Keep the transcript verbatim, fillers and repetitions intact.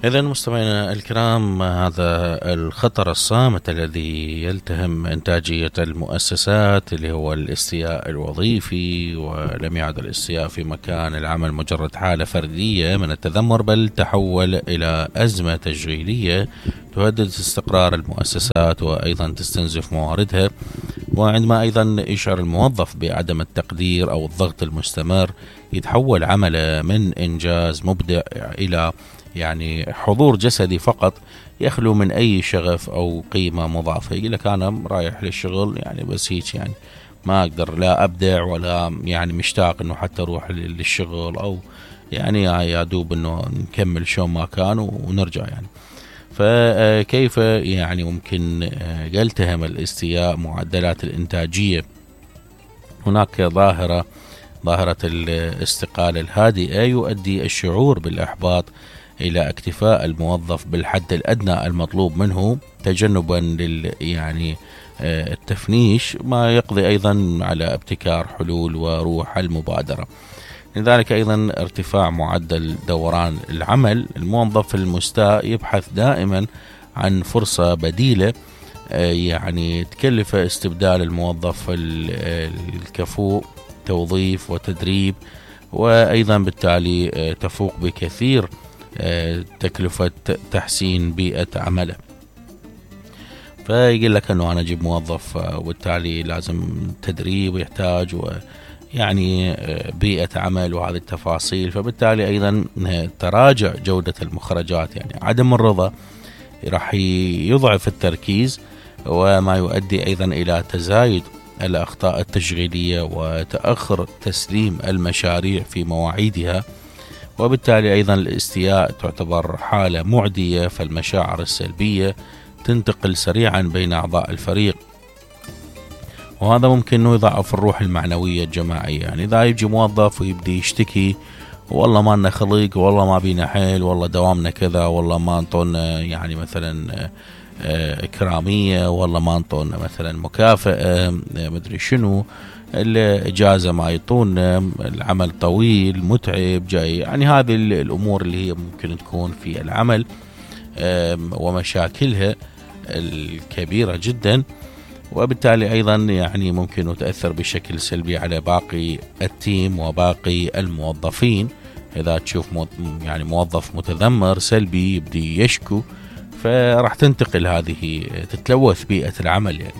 إذا مستمعينا الكرام، هذا الخطر الصامت الذي يلتهم إنتاجية المؤسسات اللي هو الاستياء الوظيفي، ولم يعد الاستياء في مكان العمل مجرد حالة فردية من التذمر، بل تحول إلى أزمة تشغيلية تهدد استقرار المؤسسات وأيضا تستنزف مواردها. وعندما أيضا يشعر الموظف بعدم التقدير أو الضغط المستمر، يتحول عمله من إنجاز مبدع إلى يعني حضور جسدي فقط، يخلو من أي شغف أو قيمة مضافة. يقول لك أنا رايح للشغل يعني بس هيك، يعني ما أقدر لا أبدع ولا يعني مشتاق إنه حتى أروح للشغل، أو يعني يا دوب إنه نكمل شو ما كان ونرجع يعني. فكيف يعني ممكن يلتهم الاستياء معدلات الإنتاجية؟ هناك ظاهرة ظاهرة الاستقالة الهادئة يؤدي الشعور بالإحباط إلى اكتفاء الموظف بالحد الأدنى المطلوب منه تجنبا لل يعني التفنيش، ما يقضي أيضا على ابتكار حلول وروح المبادرة. لذلك أيضا ارتفاع معدل دوران العمل، الموظف المستاء يبحث دائما عن فرصة بديلة يعني تكلف استبدال الموظف الكفؤ توظيف وتدريب، وأيضا بالتالي تفوق بكثير تكلفة تحسين بيئة عمله. فيقول لك أنه أنا أجيب موظف وبالتالي لازم تدريب ويحتاج يعني بيئة عمل وهذه التفاصيل، فبالتالي أيضا تراجع جودة المخرجات، يعني عدم الرضا راح يضعف التركيز، وما يؤدي أيضا إلى تزايد الأخطاء التشغيلية وتأخر تسليم المشاريع في مواعيدها. وبالتالي أيضا الاستياء تعتبر حالة معدية، فالمشاعر السلبية تنتقل سريعا بين أعضاء الفريق، وهذا ممكن أنه يضعف الروح المعنوية الجماعية. يعني إذا يجي موظف ويبدي يشتكي، والله ما لنا خلق، والله ما بينا حيل، والله دوامنا كذا، والله ما انطونا يعني مثلا إكرامية، والله ما انطونا مثلا مكافأة، مدري شنو، الإجازة ما يطون، العمل طويل متعب جاي، يعني هذه الأمور اللي هي ممكن تكون في العمل ومشاكلها الكبيرة جدا. وبالتالي أيضا يعني ممكن تأثر بشكل سلبي على باقي التيم وباقي الموظفين. إذا تشوف يعني موظف متذمر سلبي يبدي يشكو، فراح تنتقل هذه، تتلوث بيئة العمل يعني.